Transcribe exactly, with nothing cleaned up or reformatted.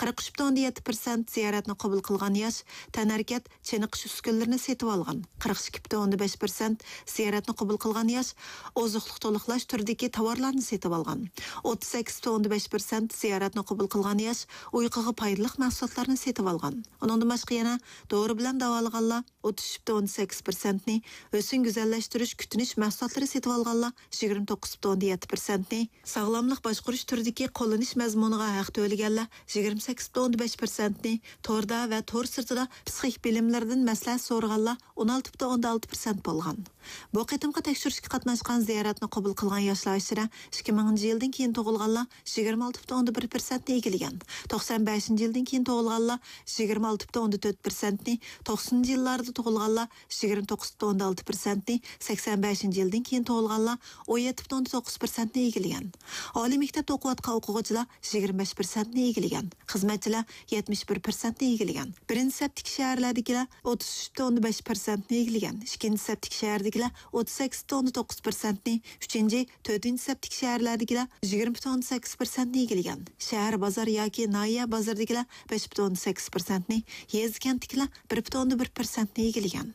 قىرىق ئۈچ پۈتۈن ئوندىن يەتتە پىرسەنت زىيارەتنى قوبۇل قىلغان ياش تەنھەرىكەت، چېنىقىش ئۈسكۈنىلىرىنى سېتىۋالغان. قىرىق ئىككى پۈتۈن ئوندىن بەش پىرسەنت زىيارەتنى قوبۇل قىلغان ياش ئوزۇقلۇق تولۇقلاش تۈرىدىكى تاۋارلارنى سېتىۋالغان. ئوتتۇز سەككىز پۈتۈن ئوندىن بەش پىرسەنت زىيارەتنى قوبۇل قىلغان ياش ئۇيقۇغا پايدىلىق مەھسۇلاتلارنى سېتىۋالغان. ئۇنىڭدىن باشقا يەنە دورا بىلەن داۋالىغانلار ئوتتۇز ئۈچ پۈتۈن ئوندىن سەككىز پىرسەنتنى، ھۆسن گۈزەللەشتۈرۈش، كۈتۈنۈش مەھسۇلاتلىرى سېتىۋالغانلار يىگىرمە توققۇز پۈتۈن ئوندىن يەتتە پىرسەنتنى، ساغلاملىق باشقۇرۇش تۈرىدىكى قوللىنىش مەزمۇنىغا ھەق تۆلىگەنلەر يىگىرمە سەككىز پۈتۈن ئوندىن بەش پىرسەنتنى، توردا ۋە تور سىرتىدا پسىخىك بىلىملىرىدىن مەسلىھەت سورىغانلار ئون ئالتە پۈتۈن ئوندىن ئالتە پىرسەنت بولغان. بۇ قېتىمقى تەكشۈرۈشكە قاتناشقان، زىيارەتنى قوبۇل قىلغان ياشلار ئىچىدە ئىككى مىڭىنچى يىلدىن كېيىن تۇغۇلغانلار يىگىرمە ئالتە پۈتۈن ئوندىن بىر پىرسەنتنى ئىگىلىگەن. توقسان بەشىنچى يىلدىن كېيىن تۇغۇلغانلار يىگىرمە ئالتە پۈتۈن ئوندىن تۆت پىرسەنتنى، توقسىنىنچى يىللاردا تۇغۇلغانلار يىگىرمە توققۇز پۈتۈن ئوندىن ئالتە پىرسەنتنى، سەكسەن بەشىنچى يىلدىن كېيىن تۇغۇلغانلار ئون يەتتە پۈتۈن ئوندىن توققۇز پىرسەنتنى ئىگىلىگەن. ئالىي مەكتەپتە ئوقۇۋاتقان ئوقۇغۇچىلار يىگىرمە بەش پىرسەنتنى ئىگىلىگەن. خىزمەتچىلەر يەتمىش بىر پىرسەنتنى ئىگىلىگەن. بىرىنچى سەپتىكى شەھەرلەردىكىلەر ئوتتۇز ئۈچ پۈتۈن ئوندىن بەش پىرسەنتنى ئىگىلىگەن. ئىككىنچى سەپتىكى شەھەردىكىلەر ئوتتۇز سەككىز پۈتۈن ئوندىن توققۇز پىرسەنتنى، ئۈچىنچى، تۆتىنچى سەپتىكى شەھەرلەردىكىلەر يىگىرمە پۈتۈن ئوندىن سەككىز پىرسەنتنى ئىگىلىگەن. شەھەر، بازار ياكى ناھىيە بازىرىدىكىلەر بەش پۈتۈن ئوندىن سەككىز پىرسەنتنى، يېزا، كەنتتىكىلەر بىر پۈتۈن ئوندىن بىر پىرسەنتنى ئىگىلىگەن.